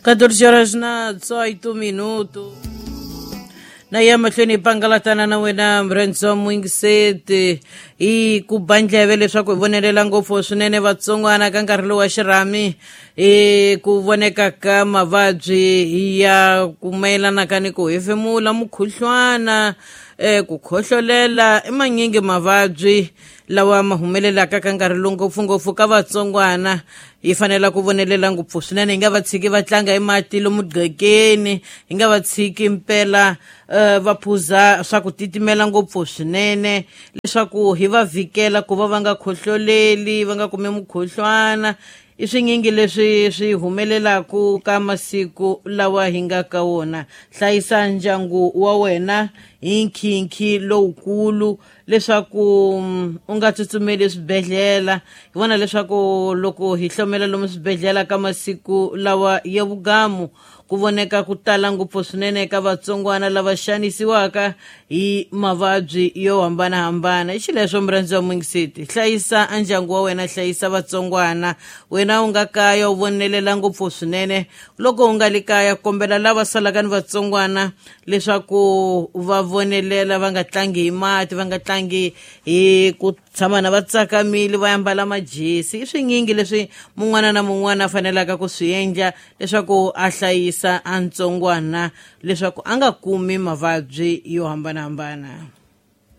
14 horas na 18 minuto. Na ya mahlweni hi pangalatana na wena mrendzo mwingiseti hi ku ba ndleve leswaku hi vonelela ngopfu swinene vatsongwana ka nkarhi lowu wa xirhami hi ku voneka ka mavabyi ya ku mayelanaka ni ku hefemula mukhuhlwana ku khohlolela i manyingi mavabyi lawa ma humelelaka ka nkarhi lowu ngopfungopfu ka vatsongwana. Hi fanela ku vonelela ngopfu swinene, hi nga va tshiki va tlanga hi mati lomu gqekeni, hi nga va tshiki mpela va phuza swa ku titimela ngopfu swinene leswaku hi va vhikela ku va va nga khohloleli, va nga kumi mukhuhlwana. I swinyingi leswi swi humelelaku ka masiku lawa hi nga ka wona. Hlayisa ndyangu wa wena hi nkhinkhi lowukulu leswaku u nga tsutsumeli eswibedhlele. Hi vona leswaku loko hi hlomela lomu swibedhlele ka masiku lawa ya vugamu, ku voneka ku tala ngopfu swinene ka vatsongwana lava xanisiwaka hi mavabyi yo hambanahambana. I xileswo murhandzi wa mwingiseti, hlayisa ndyangu wa wena, hlayisa vatsongwana. Wena u nga kaya u vonelela ngopfu swinene. Loko u nga li kaya, kombela lava salaka ni vatsongwana leswaku va vonelela, va nga tlangi hi mati, va nga tlangi hi ku tshama na va tsakamile, va ambala majesi. I swinyingi leswi mun'wana na mun'wana a fanelaka ku swi endla leswaku a hlayisa a ntsongwana leswaku a nga kumi mavabyi yo hambanahambana.